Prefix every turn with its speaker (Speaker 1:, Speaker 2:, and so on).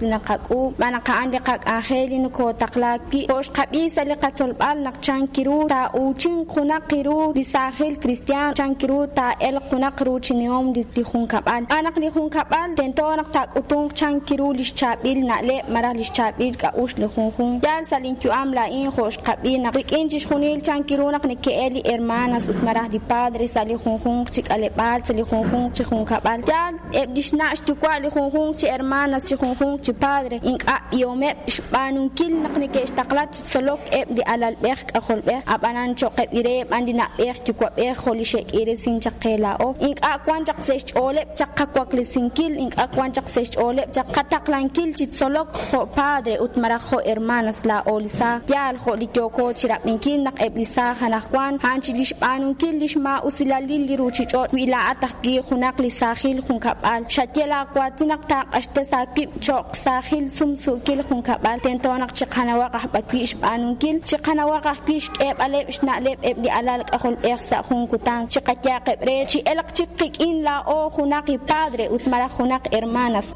Speaker 1: Li naqak'uub' xb'aan naq a'an li qak'anjel li nokootaqlaak wi'. Jo' xqab'i sa' li qatzolb'al naq chank ru taa'uuchinq junaq ru li saajil kristiaan, chank ru taa'elq junaq ruuchinihom li junkab'al. Xb'aan naq li junkab'al tento naq taak'utunq chank ru li xchaab'il na'leb' malaj li xchaab'il k'a'uxl li junjunq. Yaal sa' linyu'am laa'in jo' xqab'i naq rik'in chixjunil chank ru naq neke'el li hermanas ut malaj li padre sa' li junjunq chi k'aleb'aal, sa' li junjunq chi junkab'al. Yaal eb' li xna' xyuwa' li junjunq chi hermanas, chi junjunq chi padre ink'a' b'ihomeb' xb'aanunkil naq neke'xtaqla chi tzolok eb' li alalb'ej k'ajolb'ej, ab'anan cho'qeb' re b'an li na'b'ej yuwa'b'ej jo' li xe'k'iiresink chaq qe laa'o. Ink'a' wan chaq sa' xch'ooleb' chaq qawaklesinkil, ink'a' wan chaq sa' xch'ooleb' chaq qataqlankil chi tzolok jo' padre ut malaj jo' hermanas laa'o li saaj. Yaal jo' li yooko chi rab'inkil naq eb' li saaj anaqwan a'an chi li xb'aanunkil li xmaa'usilalil li ruuchich'och'. Wi laa'at ajwi' junaq li saajil junkab'al xaye laawaatin naq taaq'axtes aawib' cho'q saajil sumsuukil junkab'al, tento naq chiqanawaq aj b'arwi' xb'aanunkil, chiqanawaq ajwi' xk'eeb'aleb' xna'leb' eb' li alal k'ajolb'ej sa' jun kutan, chiqayaaqeb' re chi'elq chik qik'in laa'o junaq li padre ut malaj junaq hermanas.